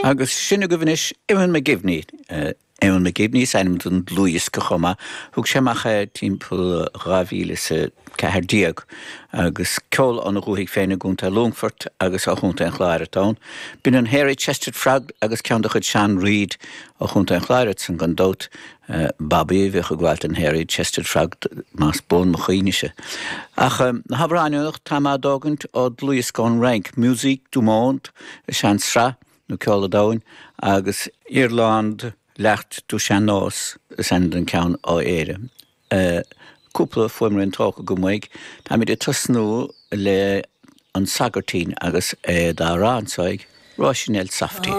Agus sin agaibh anois Eoin McGivney. Eoin McGivney is ainm don dlúthdhiosca chomh maith. Thug sé amach é timpeall 2014 agus ceol óna dhúthaigh féin i gContae Longfoirt agus ó Chontae an Chláir atá ann. B'in an Hairy Chested Frog agus ceann de chuid Sean Reid ó Chontae an Chláir ansan gan dabht. Bobby a bhíodh ag gabháil don Hairy Chested Frog más buan mo chuimhnese. Ach na hamhráin anocht tá mé á dtógaint ó dlúthdhiosca ón Fhrainc, Musiques du Monde is ea an tsraith, nó Ceol an Domhain, agus Irlande, L'Art du Sean-Nós is ainm don ceann ó Éire. Cúpla fuaimrian tógtha agam uaidh. Táimid ag tosnú le An Sagairtín agus é dá rá anso ag Róisín Elsofty.